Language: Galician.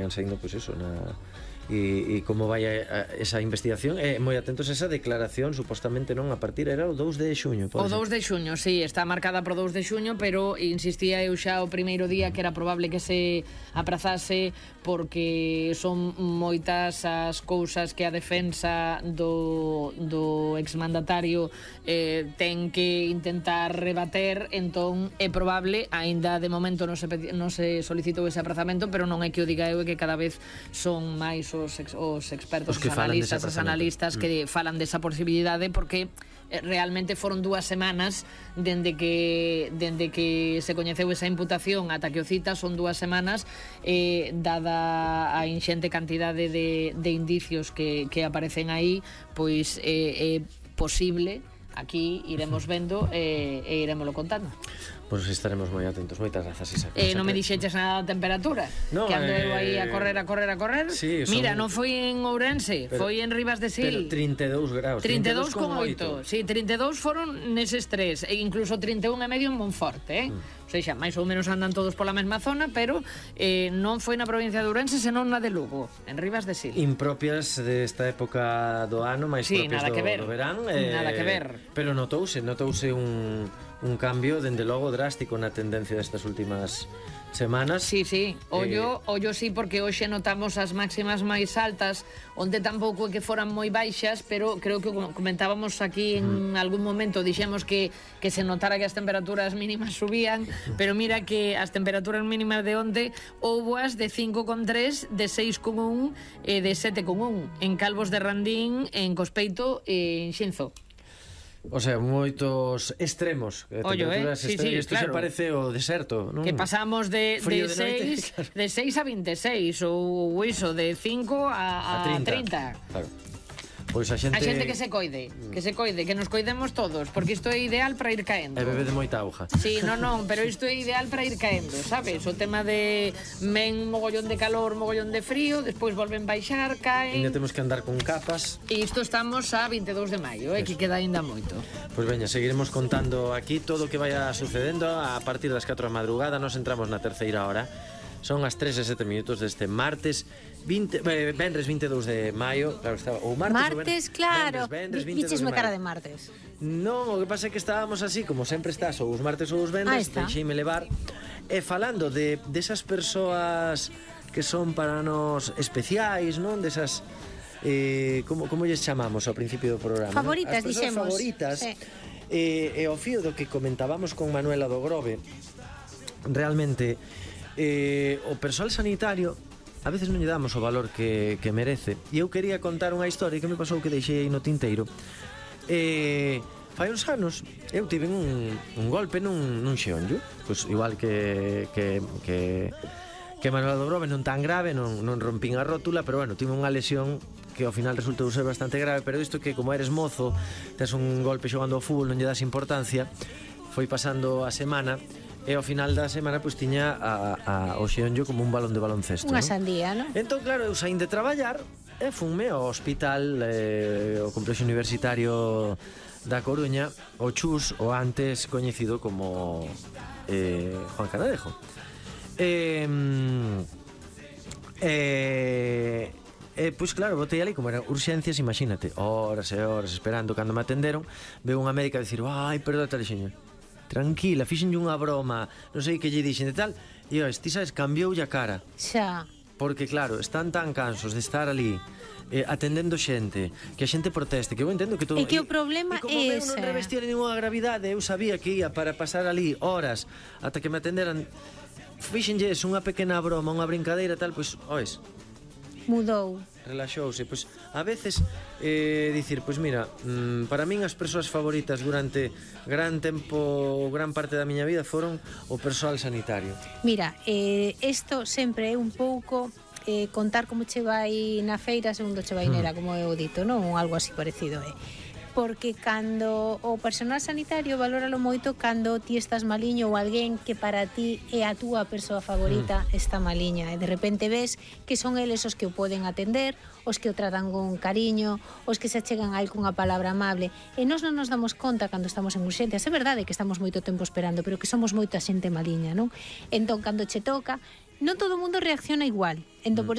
saindo, pois eso, e como vai esa investigación, moi atentos a esa declaración, supostamente non, a partir era o 2 de xuño. O 2 de xuño, sí, está marcada pro 2 de xuño, pero insistía eu xa o primeiro día que era probable que se aprazase porque son moitas as cousas que a defensa do exmandatario ten que intentar rebater, entón é probable, aínda de momento non se solicitou ese aprazamento, pero non é que o diga eu, é que cada vez son máis os expertos, os analistas que falan desa posibilidade, porque realmente foron 2 semanas dende que se coñeceu esa imputación ata que o cita, son 2 semanas, dada a inxente cantidade de indicios que aparecen aí, pois é posible. Aquí iremos vendo e iremoslo contando. Pois estaremos moi atentos. Moitas grazas, Isa. Non me dixeches nada da temperatura, que ando eu aí a correr. Sí, mira, non foi en Ourense, foi en Rivas de Sil. Pero 32 graus. 32,8. Sí, 32 foron neses 3, e incluso 31,5 en Monforte, O sea, máis ou menos andan todos pola mesma zona, pero non foi na provincia de Ourense, senón na de Lugo, en Rivas de Sil. Impropias desta época do ano, máis propias do verán. Nada que ver. Pero notouse un cambio, dende logo, drástico na tendencia destas últimas semanas. Sí, ollo sí, porque hoxe notamos as máximas máis altas, onde tampouco é que foran moi baixas, pero creo que comentábamos aquí en algún momento, dixemos que se notara que as temperaturas mínimas subían, pero mira que as temperaturas mínimas de onde houboas de 5,3, de 6,1 e de 7,1 en Calvos de Randín, en Cospeito e en Xinzo. O sea, moitos extremos. Sí, isto claro. Se parece o deserto, non? Que pasamos de 6 a 26 ou iso, de 5 a 30. Claro. Pois a xente que se coide, que nos coidemos todos, porque isto é ideal para ir caendo. E bebe de moita auga. Sí, non, pero isto é ideal para ir caendo, sabes? O tema de mogollón de calor, mogollón de frío, despois volven baixar, caen. Ainda temos que andar con capas. E isto estamos a 22 de maio, que queda ainda moito. Pois veña, seguiremos contando aquí todo o que vaya sucedendo a partir das 4 da madrugada. Nos entramos na terceira hora. Son as 3:07 deste martes Vendres 22 de maio. Claro, estaba o martes, claro. Dixesme cara de martes. Non, o que pasa é que estábamos así, como sempre estás, ou os martes ou os vendres, deixeime levar. E falando desas persoas que son para nos especiais, non? Desas como lles chamamos ao principio do programa? Favoritas, as dixemos. Favoritas. Sí. E o fío do que comentábamos con Manuela do Grove, realmente o persoal sanitario a veces non lle damos o valor que merece. E eu quería contar unha historia que me pasou, que deixei aí no tinteiro. Fai uns anos eu tive un golpe nun xeonllo, pois igual que Manuela do Grove, non tan grave, non rompín a rótula, pero bueno, tive unha lesión que ao final resultou ser bastante grave. Pero isto que, como eres mozo, tes un golpe xogando ao fútbol, non lle das importancia. Foi pasando a semana e ao final da semana pois tiña o xeonllo como un balón de baloncesto. Unha sandía, non? Entón, claro, eu saín de traballar e funme ao hospital, o complexo universitario da Coruña, o CHUS, o antes coñecido como Juan Canadejo. Pois claro, botei ali, como eran urxencias, imagínate, horas e horas esperando. Cando me atenderon, veu unha médica a dicir: ai, perdón, tal xeño, tranquila, fixenlle unha broma, non sei que lle dixen e tal. E ti sabes, cambioulle a cara. Xa. Porque claro, están tan cansos de estar ali atendendo xente, que a xente proteste, que eu entendo que todo... E que o problema é ese. E como eu non revestía ninguna gravidade, eu sabía que ia para pasar ali horas ata que me atenderan. Fixenlles unha pequena broma, unha brincadeira tal, pois, oes, mudou, relaxouse. Pois a veces dicir, pois mira, para min as persoas favoritas durante gran tempo, gran parte da miña vida foron o persoal sanitario. Mira, isto sempre é un pouco contar como che vai na feira segundo che vai nera, como eu dito, non? Algo así parecido, porque cando o personal sanitario valóralo moito cando ti estás maliño ou alguén que para ti é a túa persoa favorita está maliña, e de repente ves que son eles os que o poden atender, os que o tratan con cariño, os que se achegan a él cunha palabra amable, e nós non nos damos conta cando estamos en urxencias. É verdade que estamos moito tempo esperando, pero que somos moita xente maliña, non? Entón, cando che toca, non todo o mundo reacciona igual. Entón, por